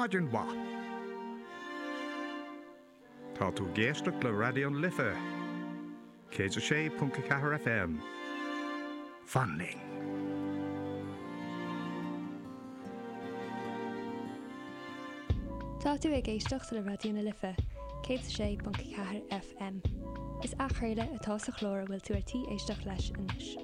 Maidin mhaith. Tá tú ag éisteacht le Raidió na Life, 106.4 FM. Fan linn. Tá tú ag éisteacht le Raidió na Life, 106.4 FM. Is athchraoladh atá sa chlár a bhfuil tú ar tí éisteacht leis anois.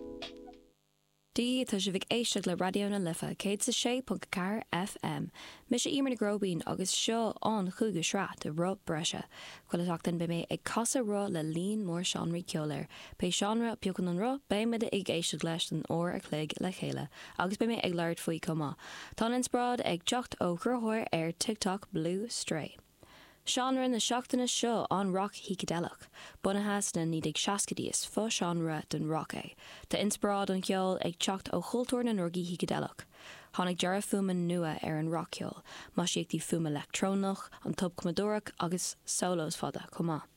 Dia, tá sibh ag éisteacht le Raidió na Life, 106.4 FM. Mise Emer Nic Róibín agus seo an chúigiú sraith de Roth Breise. Chuile sheachtain beidh mé ag casadh roth le líon mór seánraí ceoil air. Pé seánra a phiocann an roth, beidh muid ag éisteacht leis don uair a chloig le chéile agus beidh mé ag labhairt faoi chomh maith. Tá an inspioráid ag teacht ó chruthaitheoir ar TikTok Blue Stray. Seánra na seachtaine seo an roc shícideileach. Bunaithe sna 1960idí is fo-seánra den roc é. Tá inspioráid an cheoil ag teacht ó chultúr na ndrugaí shícideileach. Tháinig dearadh fuaime nua ar an rac-cheol, maisíochtaí fuaime leictreonach, an tobchumadóireacht agus solos fada chomh maith.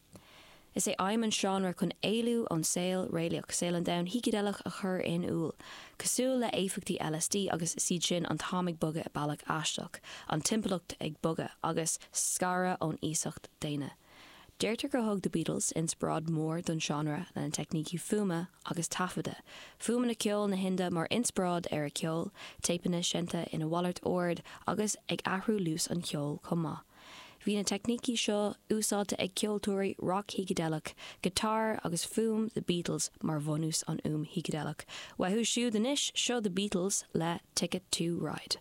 Is é aidhm an seánra chun éalú ón saol réalaíoch, saol an domhain shícideileach a chur in iúl. Cosúil le éifeachtaí LSD agus is iad sin an t-am ag bogadh i bealach aisteach, an timpeallacht ag bogadh, agus scaradh ón aosacht daonna. Deirtear gur thug The Beatles inspioráid mhór don seánra lena teicnící fuaime agus taifeadta, fuaimeanna ceoil na hInde mar inspioráid ar a ceol, téipeanna seinnte ina mhalairt ord agus ag athrú luas an cheoil chomh maith. Bhí na teicnící seo úsáidte ag ceoltóirí rac-shícideileach, guitar agus fuaim The Beatles mar bhunús an fhuaim shícideileach. Uathu siúd anois, seo The Beatles le Ticket to Ride.